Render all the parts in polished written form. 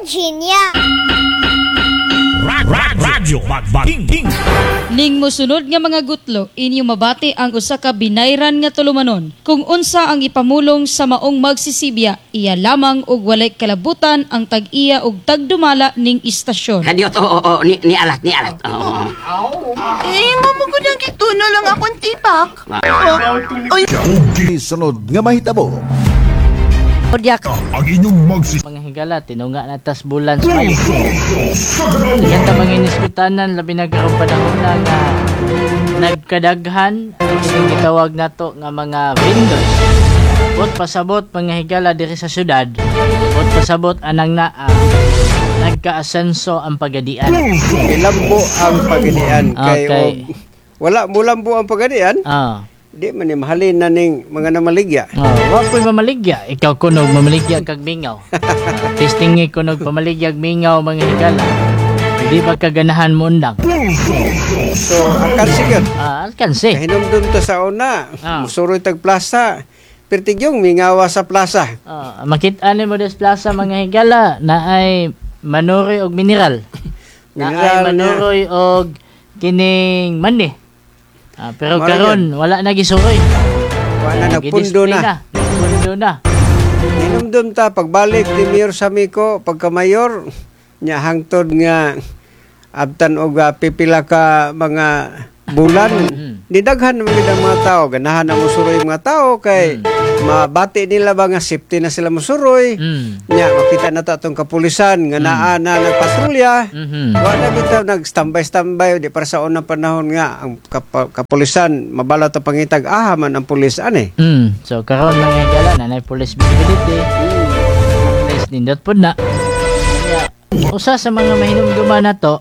Virginia. Radyo Magbakingking. Ning mosunod nga mga gutlo, inyo mabati ang usa ka binayran nga tulumanon. Kung unsa ang ipamulong sa maong magsisibya, iya lamang og walay kalabutan ang tag-iya og tagdumala ning istasyon. Kadiot, oo, oo, ni alat, ni alat. Oo. Eh, mamugod ang gituno lang akong tipak. Oh, oy, Sunod nga mahitabo. Odyak. Ang inyong magsi Mga higala, tinunga na tas bulan sa Mayo. Yan ta mga inispitanan, labi na karong panahon na nga nagkadaghan ang kining gitawag nato nga mga vendors. Bot pasabot, mga higala, diri sa syudad, bot pasabot anang naa nagkaasenso ang pagadian. Ilambo ang pagadian kay og wala mulambo ang pagadian. Di man ni mahalin na ning mga namaligya. Oh, wa ko'y mamaligya. Ikaw kunog mamaligya kag mingaw. Testingi kunog pamaligya mingaw, mga higala. Hindi ba kaganahan mo undang? So alkansi gyud. Ah, alkansi. Kahinumdum ta sa una, musuroy tag plaza. Pertigyong mingawa sa plaza. Ah, makita ni mo des plaza, mga higala, na ay manuroy og mineral. Na ay Mineral na. manuroy og kining mani. Ah, pero Mara karon wala na gisuroy. Wala na, Ah, nagpundo gidisplay na. Nagpundo na. Hinumdum ta pagbalik ni Mayor Samico pagka-mayor nya hangtod nga abtan og pipila ka mga bulan, nidaghan naman gid ang mga tao, ganahan na musuroy ang mga tao kay mabati nila ba nga safety na sila musuroy. Nya makita na ta atong kapulisan nga naa na nagpatrolya. Wa na bitaw nag-standby-standby, di para sa unang panahon nga ang kapulisan mabalat ang pangitag, aha man ang pulis ani. So karon, mga higala, na police visibility. At least nindot pod na. Kaya, usa sa mga mahinumduman na to,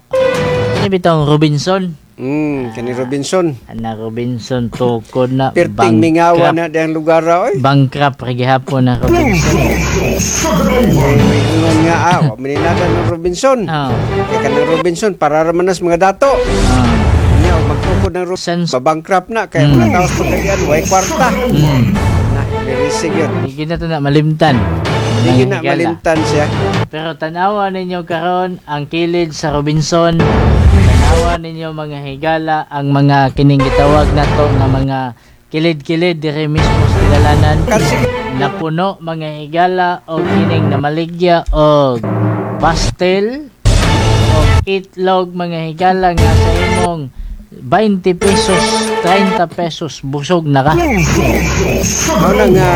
kini bitawng Robinson. Kani Robinson. Ana Robinson tukod na. Perting mingawa na diyang lugar ra oy. Bankrupt ra gihapon na Robinson. Ingon nga wa maninada ng Robinson. Kay kanang Robinson para ra man nas mga dato. Nya og magtukod ng Robinson, babankrupt na kay mga tao sa pagkadian way kwarta. Na very yun. Di na to na malimtan. Di Mga na higala. malimtan siya. Pero tanawa ninyo karon ang kilid sa Robinson. Tanawa ninyo, mga higala, ang mga kining gitawag nato nga mga kilid-kilid dire mismo sa dalanan. Napuno, mga higala, og kining namaligya og pastel og itlog, mga higala, nga sa imong 20 pesos, 30 pesos, busog na ka. Mao na nga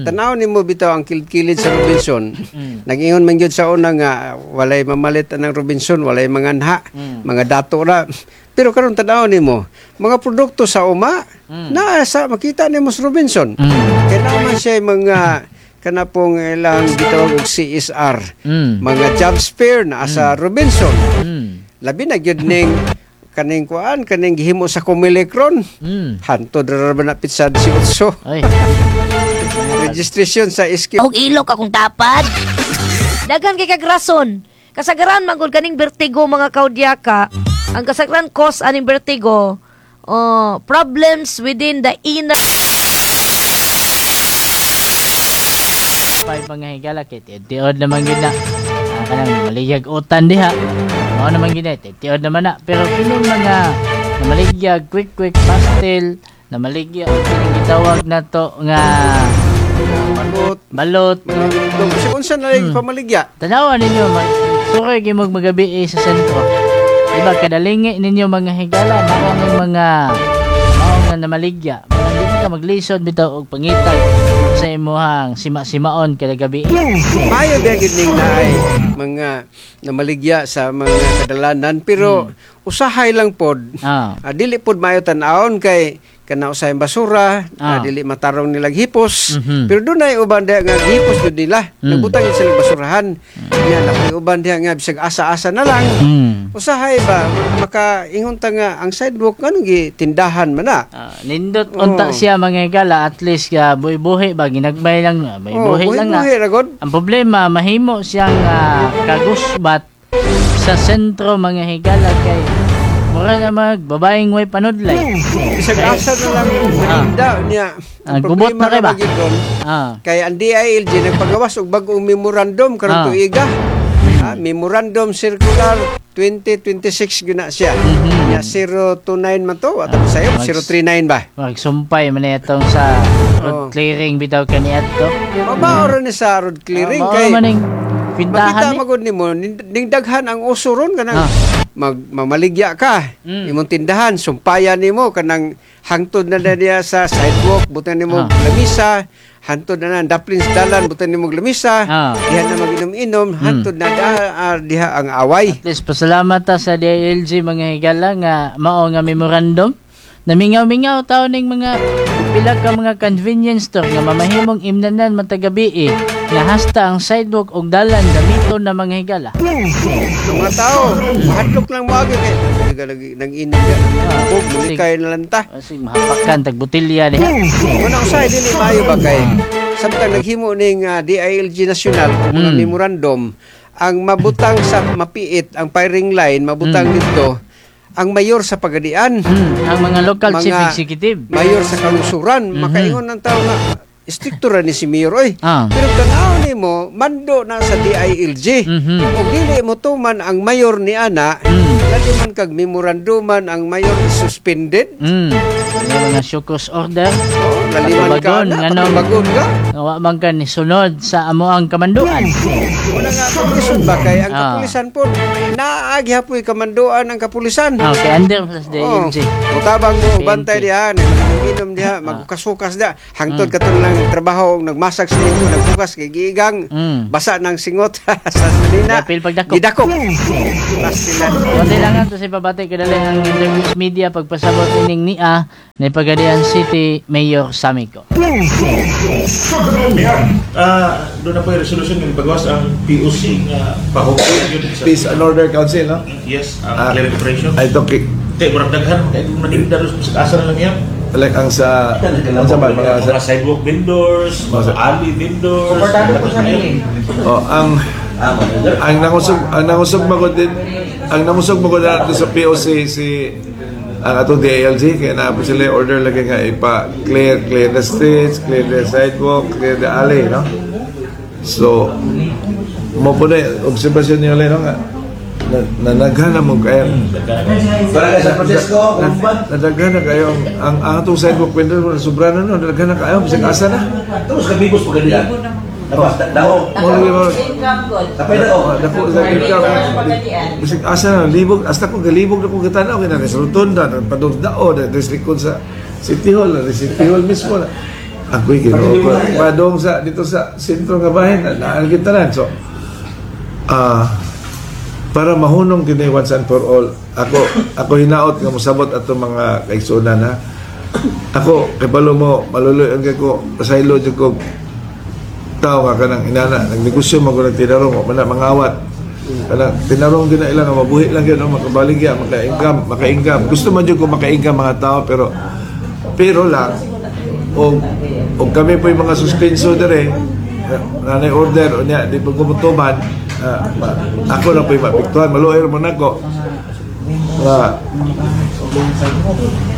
tanaw nimo bitaw ang kilid-kilid sa Robinson. Nag-ingon man gyud sa una nga walay mamalit anang Robinson, walay manganha, mga dato ra. Pero karon tanaw nimo, mga produkto sa uma naa sa makita nimo sa Robinson. Kay naa man siya mga kana pong ilang gitawag og CSR. Mga job fair naa sa Robinson. Labi na gyud ning kaning kuan, kaning gihimo sa Comelec ron. Hantod ra ba na pitsa 18. Ay. Registration sa SQ. Og ilok akong tapad. Daghan kay kag rason. Kasagaran man gud kaning vertigo, mga kaudyaka. Ang kasagaran cause aning vertigo, oh, problems within the inner Five, mga higala, kay tiod naman gid na. Ah, kanang maligyag utan diha. Mao naman gid na, tiod naman na. Pero kining mga namaligyag quick quick pastel, namaligya og kining gitawag nato nga balot. Balot. Kasi unsa na lang pamaligya? Tanawa ninyo, suroy gyud mo magabi sa sentro. Diba kadalingi ninyo, mga higala, naa ning mga mao nga namaligya. Mga di ka maglisod bitaw og pangitag sa imuhang sima-simaon kada gabi. Maayo ba gyud ning naay mga namaligya sa mga kadalanan, pero usahay lang pod. Dili pod maayo tan-awon kay kana usahay basura, dili matarong nilag hipos. Pero dunay uban diha nga hipos jud nila. Nagbutang gid sila basurahan. Nya napoy uban diha nga bisag asa-asa na lang. Usahay ba makaingon ta nga ang sidewalk nganong gitindahan man na. Nindot unta siya, mga higala, at least buhi-buhi ba, ginagmay lang, buhi-buhi Oh, lang na. buhi-buhi ra god. Ang problema, mahimo siyang kagusbat sa sentro, mga higala, kay mura na mag babaeng way panudlay. Bisag asa na lang natinda niya. Ah, gubot na kay ba? Problema ra gyud ron. Kay ang DILG nagpagawas og bag-ong memorandum karong tuiga. Ah, Memorandum Circular 2026 guna siya. Nya 029 man to, ato sayo 039 ba? Magsumpay man na itong sa road clearing bitaw kaniadto. Mabao ra ni sa road clearing Mao kay man ning kwintahan makita ni. magud nimo ning daghan ang uso ron kanang mag mamaligya ka imong tindahan, sumpayan nimo kanang hangtod na na niya sa sidewalk, butan nimo lamisa, hangtod na na daplin sa dalan, butan nimo lamisa, diha na maginom-inom, hangtod na diha ang away. At least pasalamat ta sa DILG, mga higala, nga mao nga memorandum. Namingaw-mingaw tao ning mga pila ka mga convenience store nga mamahimong imnanan matag gabi nga hasta ang sidewalk og dalan gamiton na, mga higala. Mga tao mahadlok lang moagi kay nang inom diha, oh, mulikay na lang ta. Asig mahapakan tag botelya diha. Muna usahay dili maayo ba kay samtang naghimo ning DILG National og mga memorandum, ang mabutang sa mapiit ang firing line, mabutang dito ang mayor sa Pagadian, Ang mga local mga chief executive. Mayor sa kalungsuran, makaingon ng tao nga istrikto ra ni si mayor oy. Pero tanaw nimo mando na sa DILG. Ug dili mo tuman ang mayor ni ana, dali man kag memoranduman, ang mayor is suspended. May mga show cause order. Oh, laliman ka Patubagon, na, nganong patubagon ka. Wa man ka ni sunod sa amo ang kamanduan. Una nga kapulisan ba kay ang kapulisan po naagi hapoy kamanduan ang kapulisan. Okay, under sa DILG. Mutabang mo PNP. bantay diha, inom diha, magkasukas diha. Hangtod katon lang trabaho, nagmasak sa linggo, nagbukas kay giigang, basa ng singot sa sanina. Dapil pagdakop. Gidakop. Last sila. Pati lang to si pabati kadali ang Internews Media pagpasabot ining nia ni Pagadian City Mayor Samico. Mayor, doon na po yung resolution yung pagawas ang POC nga pahukay yun sa Peace and Order Council, no? Yes, ang clearing operation. Ay, ito, Kay murag daghan kay kung naninda ros sa asa na lang yan. Like ang sa ba, mga sa, Mga sidewalk vendors, mga alley vendors. Komportado po sa akin. Oh, ang nangusog magod din ang nangusog magod na sa POC si ang atong DILG kaya na po sila order lagi nga ipa clear clear the streets, clear the sidewalk, clear the alley, no? So mo po na obserbasyon niyo no nga na, nanaghan na mo kayo. Barangay San Francisco, Kumban. Nadaghan na kayo ang atong sidewalk vendor sobra na, no? Nadaghan na kayo bisag asa na. Tapos kabibos pa ganyan. Tapos dao. Mo lagi mo. Tapay dao. Dako sa income. Bisag asa na libog, hasta ko galibog na ko gatanaw kay na sa rotunda, padung dao, na sa likod sa City Hall, na sa City Hall mismo na. Ako'y Ginoo ko. Padong sa dito sa sentro nga bahin na naan kita na. So para mahunong kini once and for all, ako ako hinaot nga mosabot ato mga kaigsuonan ha. Ako kay mo maluloy ang kay ko pasaylo jud ko tao nga kanang inana nagnegosyo man ko nagtinarong wa man na mangawat kanang tinarong din na ilang nga mabuhi lang yun, no? Makabaligya, maka-income, maka-income. Gusto man jud ko maka-income mga tao, pero pero lang og og kami po yung mga suspenso dire nanay order o niya di pa kumutuman, ako na po yung maapektuhan, maluoy mo nako nga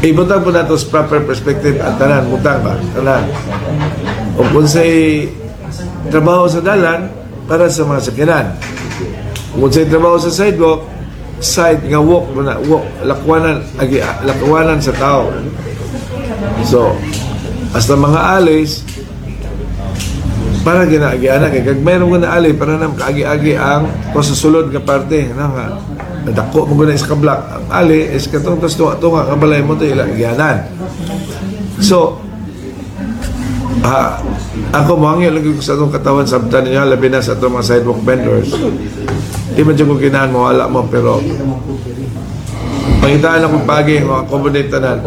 ibutang po nato sa proper perspective at tanan, butang ba tanan o kung sa'y trabaho sa dalan para sa mga sakyanan, kung sa'y trabaho sa sidewalk, side nga walk mo na walk, lakwanan agi lakwanan sa tao. So hasta mga alleys para ginaagianan kay kag mayroon ko na alley para na kaagi-agi ang ko sa sulod nga parte na nga dako mo guna is ka block ang alley is katong tas tunga nga balay mo to ila agianan. So ako moangyo lagi ko sa atong katawan sabtan ninyo, labi na sa atong mga sidewalk vendors. Di man jud ko ginahan mo wala mo, pero pangitaan akong pagi mga accommodate tanan.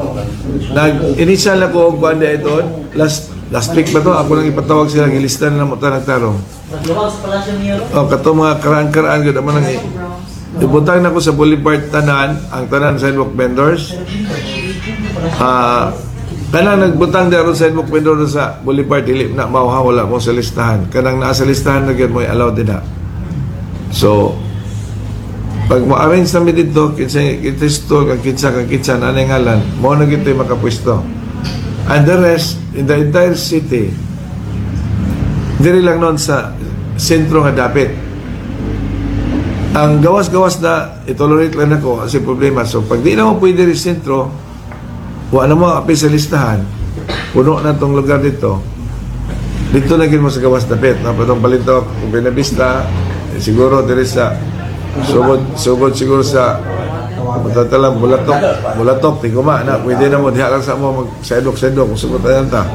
Nag initial ako og kuan ito last last week ba to, ako lang ipatawag sila, gilista na mo tanang tarong. Oh, kato mga karaan-karaan gud man ang ibutang na ko sa Boulevard tanan, ang tanan sidewalk vendors. Kanang nagbutang daro sidewalk vendor sa Boulevard dili na mao ha, wala mo sa listahan. Kanang naa sa listahan na gyud mo allowed din na. So pag mo-arrange namin dito, kinsa kinsa kang kinsa kang kinsa na ngalan, mo na gito yung makapwesto. And the rest, in the entire city, diri lang noon sa sentro nga dapit. Ang gawas-gawas na itolerate lang ako kasi problema. So pag di na mo pwede rin sentro, wa na mo apil sa listahan, puno na tong lugar dito. Dito na gid mo sa gawas dapit, no? Patong Balintawak, kung Buenavista, eh, siguro diri sa sugod, sugod siguro sa matatalang Bulatok, Bulatok, Tiguma na, pwede na mo, diha lang sa mo mag sidewalk, sidewalk, kung sugod na ta.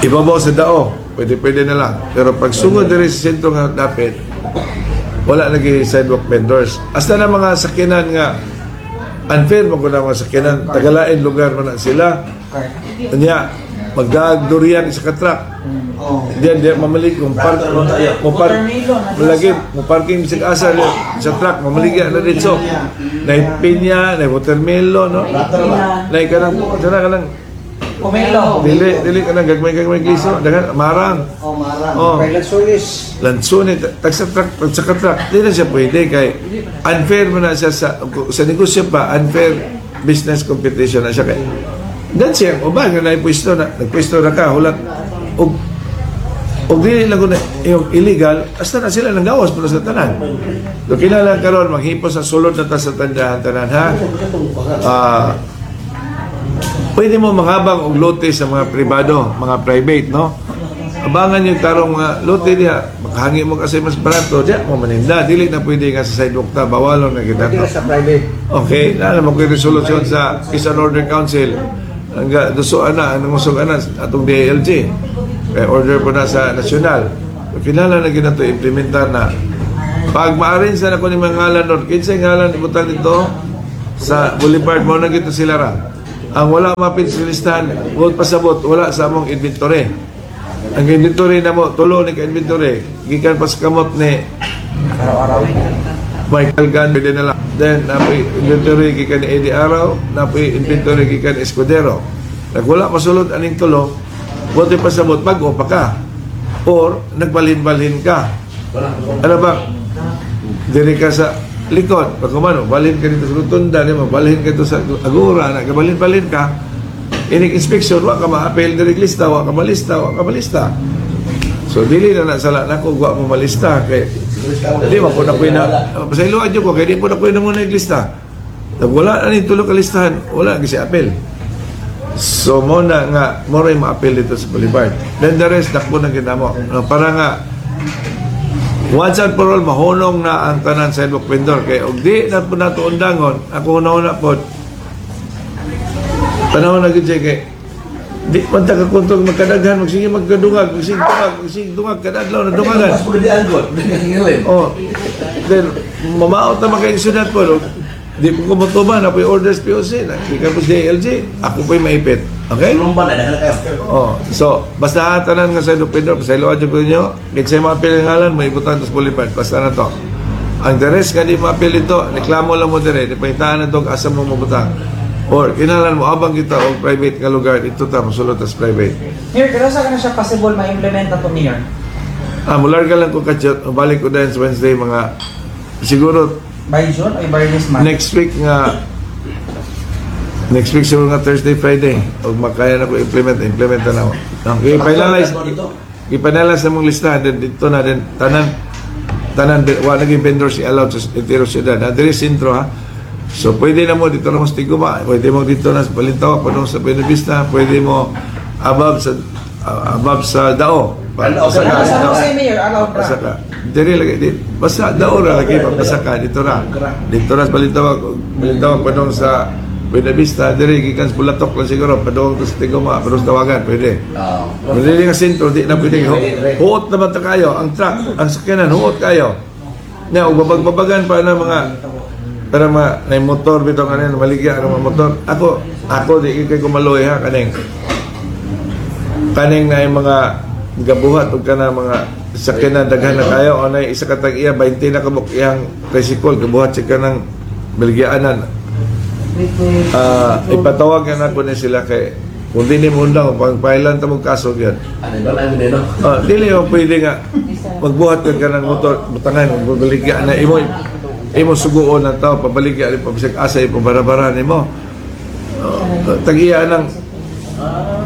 Ibabaw sa dao, pwede pwede na lang. Pero pag sugod diri sa sentro nga dapit, wala lagi sidewalk vendors. Hasta na mga sakyanan nga unfair mo na mga sakyanan, tagalain lugar man na sila. Nya magdaag durian isa ka truck. Diyan diyan mamalik kung park mo park malagi mo parking bisag asa sa truck mamaligya na dito. Nay pinya, nay watermelon, no? Nay kanang kana kanang Pomelo. Dili dili kanang gagmay-gagmay gliso, daghan marang. Oh, marang. Oh. Kay Lansones. Lansunin, tag sa truck, tag sa truck, di na siya pwede kay unfair mo na siya sa negosyo pa, unfair business competition na siya kay. Dan siya, o ba, nga naipwesto na, nagpwesto na ka, hulat, og og dili lang na yung illegal, hasta na sila nang gawas para sa tanan. So kinahanglan karon maghipos sa sulod na ta sa tandahan tanan ha. Ah, pwede mo manghabang og lote sa mga pribado, mga private, no? Abangan yung tarong mga lote diha, makahangi mo kasi mas barato, diha mo maninda. Dili na pwede nga sa sidewalk ta, bawalon na kita. Pwede na sa private. Okay, na naman ko yung resolusyon sa Peace and Order Council. Ang dusuan na, ang nangusog na atong DLG. Kaya order po na sa nasyonal. Kinahanglan na ginato implementar na. Pag ma-arrange na ko ni mga ngalan nun, kinsay ngalan ibutang dito sa Boulevard mo na gito sila ra. Ang wala mapit sa listahan, huwag pasabot, wala sa among inventory. Ang inventory na mo, tulo ni ka-inventory. Gikan pa sa kamot ni Michael Gunn, pwede na lang. Then, napoy inventory gikan ni Eddie Araw, napoy inventory gikan ni Escudero. Nagwala masulod aning tulo, bote pasabot, bago pa ka. Or, nagbalhin-balhin ka. Ano ba? Diri ka sa likod. Pag kumano, balhin ka dito sa rotunda, di ba? Balhin ka dito sa Agora, nagbalhin-balhin ka. Inig inspection, wa ka ma-appeal diri lista, wa ka malista, wa ka malista. So dili na nasala na ko wa mo malista kay di ba ko na ko na pasayloan jud ko kay di po na ko na mo naglista. Wala na ni tulo ka listahan, wala gyud si appeal. So mo na nga mo ray ma-appeal dito sa Boulevard. Then the rest dakpo na ginamo. No, para nga once and for all mahunong na ang tanan sidewalk vendor kay og di na po nato undangon ako una-una po panahon na gyud siya kay di man ta kakuntog magkadaghan magsige magkadungag magsige dungag magsige dungag kada adlaw na dungagan. Mas pagadian ko. Oh, then mamaot na makaigsunan po, no? Di po ko motuban ako yung orders POC na gikan po sa DLG, ako po'y maipit, okay? Lumban na daghan kayo. Oh, so basta ha, tanan nga sa Lupindor, pasayloan jud ko ninyo. Kinsay maapil ang ngalan, may ibutan sa Boulevard. Basta na to. Ang the rest nga di maapil ito, reklamo lang mo dire, di pangitaan na to asa mo mabutang. Or kinahanglan mo abang kita og private nga lugar dito ta mosulod tas private. Mayor, pero sa na siya possible ma-implement na to, Mayor? Ah, mularga lang ko kadyot, balik ko din sa Wednesday mga siguro By June o by this month? next week nga next week siguro nga Thursday, Friday og makaya na ko implement, implement na ako. Okay, finalize i-finalize na mong listahan then dito na din tanan tanan wa naging vendors i-allowed sa entero siyudad. Na diri sentro ha. So pwede na mo dito na mo sa Tiguma, pwede mo dito na sa Balintawak, pwede mo sa Buenavista, pwede mo above sa Dao. Pasaka, Sa Dao. Jose, Mayor, allowed ra. Pasaka. Diri lagi di, basta Dao ra lagi papasaka dito ra. Dito ra sa Balintawak, Balintawak padung sa Buenavista, diri gikan sa Bulatok lang siguro padung to sa Tiguma, padung sa Tawagan, pwede. Oo. Pero dili nga sentro, di na pwede. Huot naman ta kayo, ang truck, ang sakyanan, huot kayo. Nya, ug babag-babagan pa na mga para ma na motor bitaw kanin maligya ang mga motor. Ako ako di kay kumaloy ha kaning kaning na yung mga gabuhat ug kana mga sakyanan daghan na kayo o na isa ka tag iya 20 na kabuk iyang tricycle gabuhat siya kanang baligyaanan. Ah, ipatawag na nako ni sila kay kung di ni mo undang pang pailan ta mong kaso gyud. Ano ba lang din no? Ah, dili mo pwede nga magbuhat ka ng motor, butangan, mabaligya na imo imo suguon ang tao, pabaligya ni pabisag asa imo barabara nimo. Oh, tagiya nang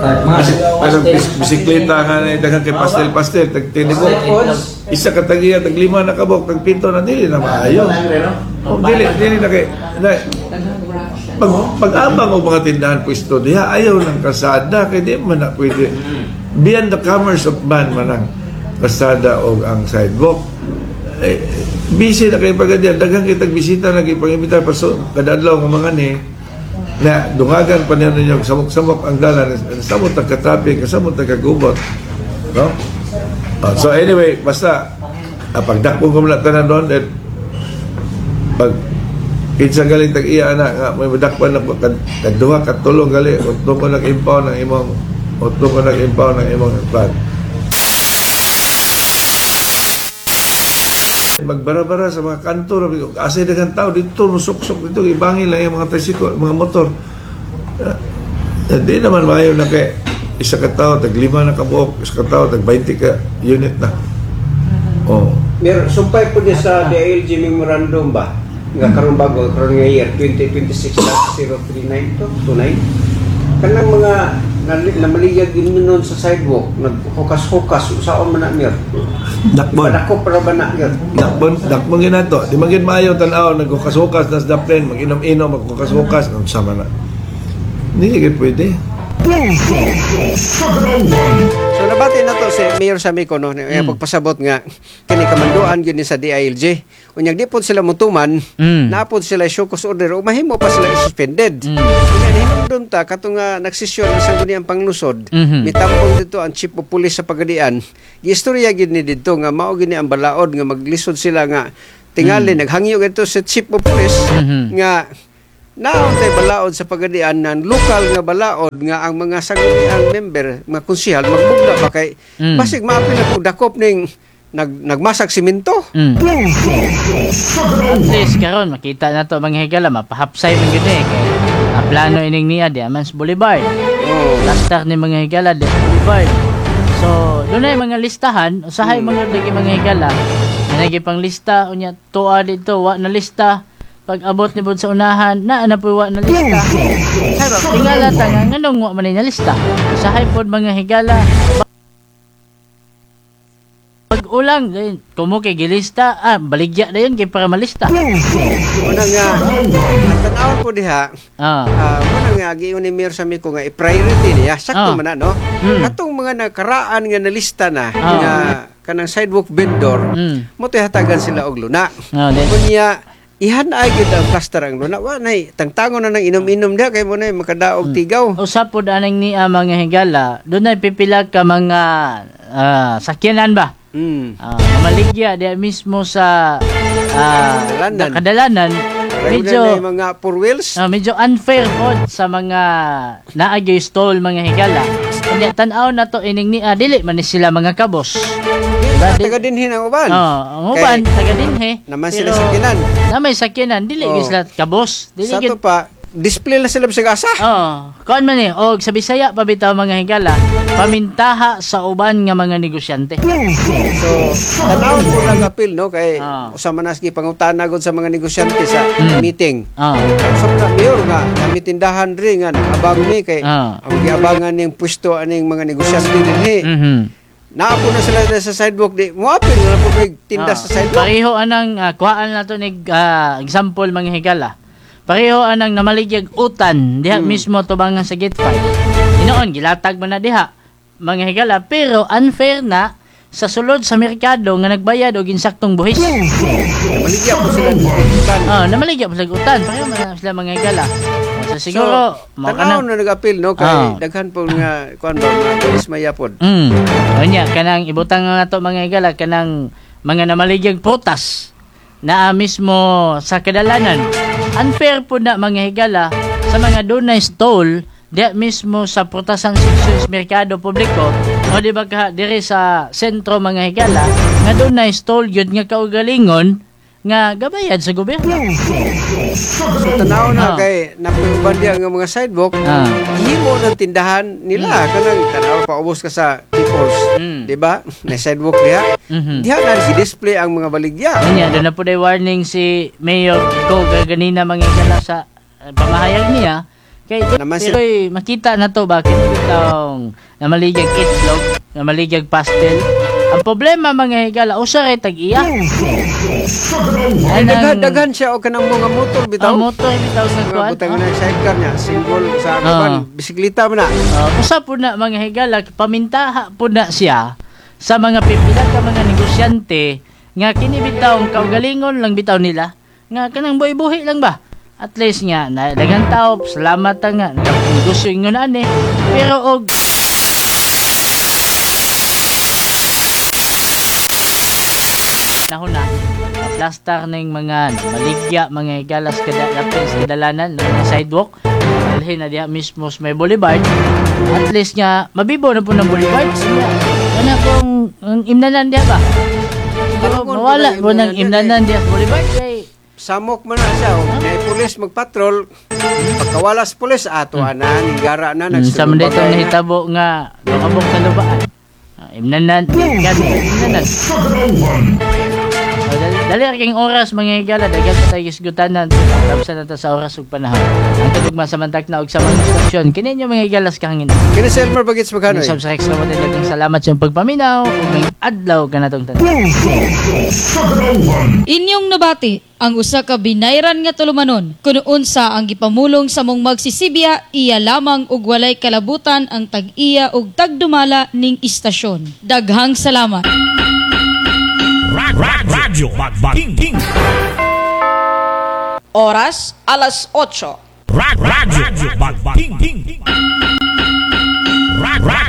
Anong bisikleta nga na daghan kay pastel-pastel tag tinibok. Isa ka tagiya tag lima na kabok tag pinto na dili na maayo. Oh, dili dili na kay na, pag pag-abang og mga tindahan pwesto diha ayaw ng kalsada kay di man na pwede. Beyond the commerce of man man ang kalsada o ang sidewalk. Eh, busy na kayo pagka diyan. Daghan kitag bisita na kayo pag-imbitar pa so, kada adlaw nga mga ni na dungagan pa niya ninyo samok-samok ang dalan, samot ang ka-traffic, samot ang kagubot, no? Ah, so anyway, basta pagdakpong ko muna tanan doon, then pag kinsa galing tag iya ana nga may madakpan na ko kad duha ka tulo gali utong ko nag-impound ng imong utong ko nag-impound ng imong plan. Magbara-bara sa mga kanto rabi ko asa daghang tao dito musuksok dito ibangin lang yung mga tricycle, mga motor. Di naman maayo na kay isa ka tao tag lima na kabuok, isa ka tao tag 20 ka unit na. Oh. Mer sumpay po niya sa DILG memorandum ba? Nga karon bago karon nga year 2026-039 to 29. Kanang mga namaliyag yun nun sa sidewalk, naghukas-hukas, usaon man na, Mir. Dakbon. Dako para ba na, Mir? Dakbon, dakbon ginato. Di man gid maayo tan-aw naghukas-hukas nas daplen, mag-inom-inom, maghukas-hukas, unsa man na. Hindi gid pwede. Pulso sa Karawang. So nabati na to si Mayor Samico no, pagpasabot nga kini kamanduan gyud ni sa DILG. Unyag di pod sila mutuman, napod sila show cause order o mahimo pa sila suspended. Unya hinumdum ta katong nga nagsesyon ang Sangguniang Panglungsod, mitambong dito ang chief of police sa Pagadian. Giistorya gyud ni didto nga mao gyud ni ang balaod nga maglisod sila nga tingali naghangyo gadto sa chief of police nga naon tay balaod sa Pagadian na lokal nga balaod nga ang mga sangguniang member, mga konsehal magbugna ba kay basig maapil na kung dakop ning nagmasak simento. Pulso sa At Karawang. least karon makita na to mga higala mapahapsay man gyud eh kay ang plano ining niya di man sa Boulevard. Oh. Plaster ni mga higala di sa Boulevard. So, dunay mga listahan, usahay mga lagi mga higala. Nanay pang lista unya tuwa dito wa na lista. Pag abot ni bod sa unahan, naa na po wa na lista. Pero tingala ta nga nganong wa man ni lista. Usahay pod mga higala. Pag ulang, dayon, kumo kay gilista, baligya dayon kay para malista. Una nga ang tan-awon po diha, muna nga giingon ni Mayor Samico nga i-priority niya sakto man na no. Katong mga nakaraan nga nalista na nga kanang sidewalk vendor, mo hatagan sila og luna. Unya ihan ay gyud ang plaster ang luna. Wa nay tangtangon na nang inom-inom diha kay mo nay makadaog tigaw. Usa pod anang niya mga higala, dunay pipila ka mga sakyanan ba? Maligya diha mismo sa Kadalanan. kadalanan. Medyo Medyo na yung mga four wheels. Medyo unfair pod sa mga naagyoy stall mga higala. Kanya tan-aw na to ining niya dili man ni sila mga kabos. Diba? Taga dinhi ang uban. Oh, ang uban Kay- taga dinhi. Naman sila sakyanan. Na may sakyanan dili gyud sila kabos. Dili Sa gyud to pa display lang sila sa asa. Oh, kuan man eh, og sa Bisaya pa bitaw mga higala, pamintaha sa uban nga mga negosyante. So, tan-awon po lang apil no kay usa man nas gipangutana gud sa mga negosyante sa meeting. Sa mga mayor nga kami tindahan ri nga abang mi kay ang giabangan ning pwesto aning mga negosyante dinhi. Naapo na sila sa sidewalk di moapil na po may tinda sa sidewalk. Pareho anang kuhaan na to ni example mga higala. Pareho anang namaligyag utan diha mismo tubangan sa gate 5. Hinoon gilatag man na diha mga higala pero unfair na sa sulod sa merkado nga nagbayad og insaktong buhis. Namaligya po sila og utan. Oh, namaligya po sila og utan. Pareho man na sila mga higala. So siguro so, mao tan-aw na nag-apil no kay daghan po nga kuan ba mga dismaya pod. Unya kanang ibutang nga nato mga higala kanang mga namaligyag prutas naa mismo sa kadalanan. Unfair po na mga higala sa mga dunay stall diya mismo sa prutasan sa merkado publiko o di ba ka diri sa sentro mga higala nga dunay stall gyud nga kaugalingon nga gabayad sa gobyerno. So tanaw na kay napuban diya nga mga sidewalk, himo ng tindahan nila kanang tanaw paubos ka sa People's, di ba? Na sidewalk diha. Diha na si display ang mga baligya. Unya, doon na po day warning si Mayor ko ganina mga higala sa pamahayag niya. Kay Kay Naman pero eh, makita na to ba kini bitawng namaligag itlog, namaligag pastel. Ang problema, mga higala, usa ray tag-iya. Ay, daghan daghan siya og kanang mga motor bitaw. Ang motor bitaw sa Mga kuan. butang na sidecar niya, single sa kuan, bisikleta man na. Usa po na, mga higala, pamintaha po na siya sa mga pipila ka mga negosyante nga kini bitaw kaugalingon lang bitaw nila nga kanang buhi-buhi lang ba, at least nga na daghang tao, salamat ta nga negosyo ingon ani, pero og nahuna plastar ning mga maligya, mga higalas, kada lapis kadalanan ng mga sidewalk, dalhin na diha mismo sa may boulevard, at least nga mabibo na po ng boulevard. Kana kung ang imnanan diha ba siguro Tarungon mawala po po ng ng imnanan diha sa boulevard kay Samok man na siya, oh. May pulis magpatrol. Pagkawala sa pulis, ato na, ninggara na, Sa man nagsulubagay ditong na. nahitabo nga nakabok sa lubaan. Ah, imnanan kan imnanan. Oh, dali, dali ra kayong oras, mga higala, daghan pa tayo isgutanan. Tapos na ta sa oras ug panahon. Ang tugma sa mantak na og sa mga istasyon. Kini inyo, mga higalas, kahangin. Kini si Elmer Bagits Maghanoy. Kini sa Rex Lamote, daghang salamat sa iyong pagpaminaw ug may adlaw kanatong tanan. Inyong nabati ang usa ka binayran nga tulumanon kun unsa ang gipamulong sa mong magsisibya, iya lamang ug walay kalabutan ang tag-iya ug tagdumala ning istasyon. Daghang salamat. Radyo King King. Oras, alas 8. Radyo King King.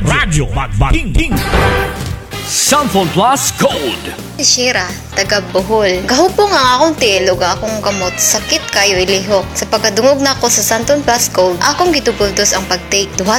Radyo King King. Samphone Plus Gold. Si Shira, taga Bohol. Gahupong ang akong tiil ug akong kamot, sakit kayo ilihok. Sa pagkadungog nako sa Santon Plus Gold, akong gitubultos ang pagtake. Duha